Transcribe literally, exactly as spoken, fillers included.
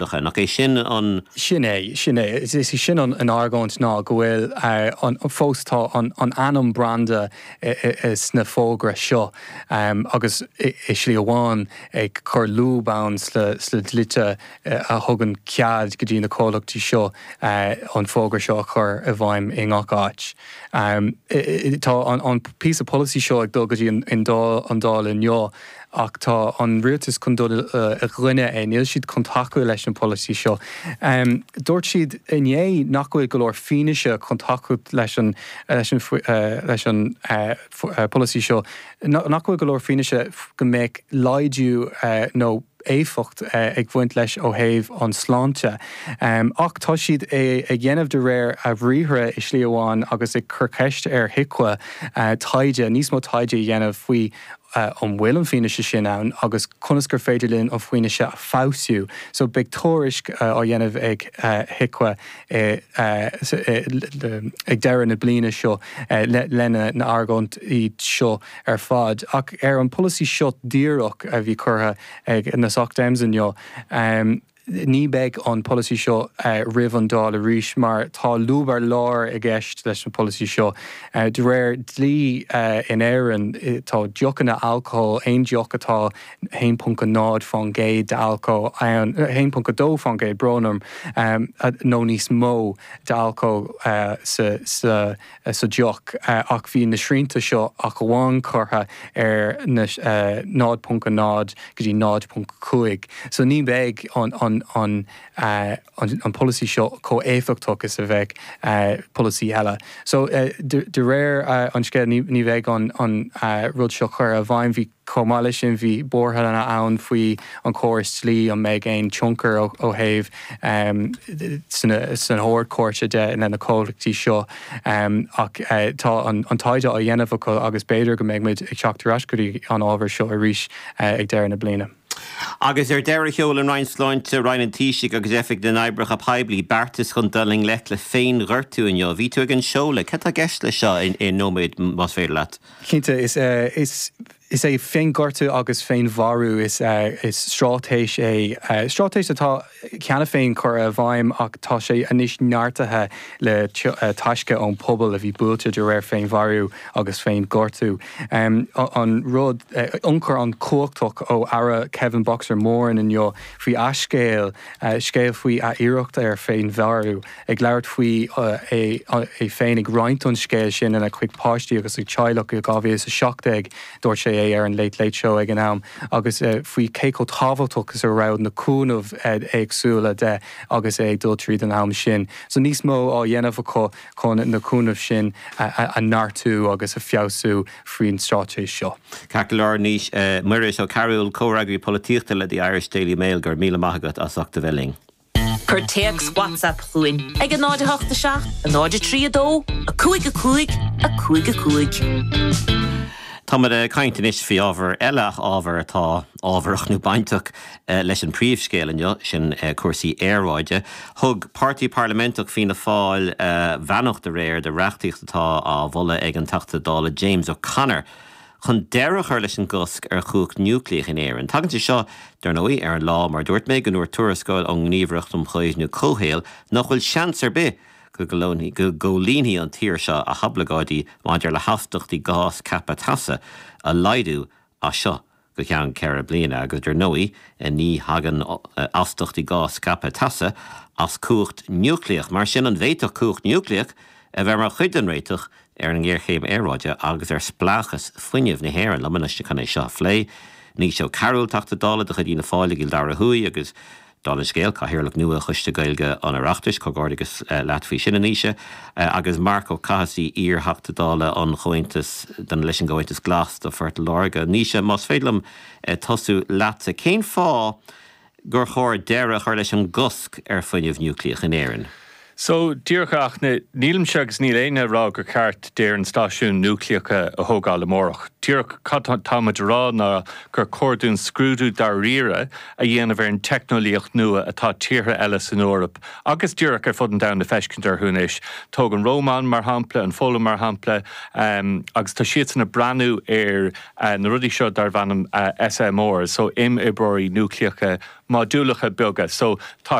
Nach é sin an Sin é sin é is is sin an an argóint ná go bhfuil uh, an fós tá an, an ainm branda sna fógra seo um, agus i slí amháin ag cur lúb ann sna dlíthe a thugann cead go dtí na comhlachtaí seo uh, an fógra seo a chur i bhfeidhm i ngach áit. Um, tá an, an píosa polasaí seo ag dul go dtí an, an Dáil inniu ach tá an rialtas chun dul uh, i gcoinne é níl siad chun tacú leis an polasaí seo. Um, dúirt siad inné nach bhfuil go leor fianaise chun tacú leis an leis an uh, leis an uh, uh, polasaí seo nach bhfuil go leor fianaise go mbeidh laghdú uh, nó éifeacht uh, ag bhaint leis ó thaobh an sláinte. Um, ach tá siad ag déanamh de réir a bhriathra i slí amháin agus ag cur ceist ar HIQA uh, taighde níos mó taighde a dhéanamh faoi uh, an bhfuil an fianaise sin ann agus conas gur féidir linn an fianaise a fheabhsú. So beidh tuairisc uh, á dhéanamh ag uh, HIQA uh, uh, ag deireadh na bliana seo uh, le, lena na argóintí seo ar fad. Ach ar an polasaí seo díreach a bhí curtha ag na Soc Dems inniu. Um, ní bheidh an polasaí seo uh, roimh an Dáil arís mar tá lúb ar lár i gceist leis an polasaí seo. Uh, de réir dlí uh, in Éirinn tá deochanna alcohol aon deoch atá haon ponc náid faoin gcéad de alcohol haon ponc dó faoin gcéad brón orm um, nó níos mó de alcohol uh, sa, sa, sa deoch uh, ach bhí na srianta seo ach amháin curtha ar na uh, náid ponc náid go dtí náid ponc cúig. So ní bheidh an, an an, uh, an, an polasaí seo chomh éifeachtach is a bheadh uh, polasaí eile. So uh, de, de réir uh, an scéil ní, ní bheidh an, an uh, rud seo curtha i bhfeidhm bhí chomh maith leis sin bhí buartha ann faoi an córas dlí an mbeidh aon tionchar ó, ó thaobh um, san, san Ard-Chúirt de lena na comhlachtaí seo um, ach uh, tá an, an taighde á dhéanamh acu agus b'fhéidir go mbeidh muid ag teacht ar ais go dtí an ábhar seo arís uh, ag deireadh na bliana. Agus ar deireadh sheol an Roinn Sláinte Roinn an Taoisigh agus Oifig na nOibreacha Poiblí beartas chun dul i ngleic le féinghortú inniu. Bhí tú ag an seoladh, cad tá i gceist le seo in nóiméad más féidir leat. Cinnte is uh, is is é féinghortú agus féinmharú is uh, is straitéis é uh, straitéis atá cheana féin curtha i bhfeidhm ach tá sé anois neartaithe le uh, taisce ón pobal a bhí buailte de réir féinmharú agus féinghortú. Um, an rud uh, ionchur an-chumhachtach ó Aire Kevin Boxer Moran inniu faoi a scéal uh, scéal faoi a iarracht ar féinmharú ag labhairt faoi uh, é, é féin ag roinnt an scéal sin lena chuid páistí agus a teaghlach i dhá mhíle is a seacht déag dúirt sé é ar an Late Late Show ag an am agus uh, faoi cé chomh tábhachtach is a raibh na cúnamh uh, éagsúla de agus é ag dul tríd an am sin. So níos mó á dhéanamh acu chun na cúnamh sin a, a, a neartú agus a feabhsú faoin straitéis seo. Ceart go leor Naoise uh, Muiris Ó Cearúil comhfhreagraí polaitíochta le The Irish Daily Mail go raibh míle maith agat as ucht a bheith linn. Cuir téacs WhatsApp chugainn ag a náid a hocht a seacht, a náid a trí a dó, a cúig a cúig, a cúig a cúig. Táimid ag caint anois faoi ábhar eile ábhar atá ábharach nó bainteach leis an príomhscéal inniu sin cúrsaí aeráide. Thug Páirtí Parlaiminteach Fianna Fáil beannacht aréir do reachtaíocht atá á mholadh ag an Teachta Dála James O'Connor. Chun deireadh a chur leis an gcosc ar chumhacht núicléach in Éirinn. Tagann sé seo dar ndóigh ar an lá mar dúirt mé go ndúirt tuarascáil ón nGníomhaireacht um Chaomhnú Comhshaoil nach bhfuil seans ar bith go go gcomhlíonfaidh an tír seo a hoibleagáidí maidir le hastaíochtaí gás ceaptha teasa a laghdú as seo go ceann ceithre bliana agus dar ndóigh ní thagann astaíochtaí gás ceaptha teasa as cumhacht núicléach mar sin an bhféadfadh cumhacht núicléach a bheith mar chuid den réiteach ar an ngéarchéim aeráide agus ar spleáchas fuinnimh na hÉireann liom anois chun é seo a phlé. Naoise Ó Cearúil Teachta Dála de chuid Fhianna Fáil i gCill Dara Thuaidh agus Dála an scéil Cathaoirleach nua Choiste Gaeilge an Oireachtais comhghairdeas leat faoi sin a Naoise agus Marc Ó Cathasaigh iar-Theachta Dála an Chomhaontas don leis an gComhaontas Glas do Phort Láirge. Naoise más féidir liom tosú leatsa cén fáth gur chóir deireadh a chur leis an gcosc ar fuinneamh núicléach in Éirinn. So díreach ach nílimse agus níl éinne ag rá gur ceart d'Éirinn stáisiún núicléach a thógáil amárach. Díreach cad táimid a rá ná gur chóir dúinn scrúdú dáiríre a dhéanamh ar an teicneolaíocht nua atá tíortha eile san Eoraip agus díreach ar fud an domhain ag feiscint orthu anois. Tóg an Rómáin mar shampla, an Pholainn mar shampla, um, agus tá siadsan ag breathnú ar uh, na rudaí seo darb ainm uh, S M R, so imoibreoirí núicléacha modúlacha beaga. So tá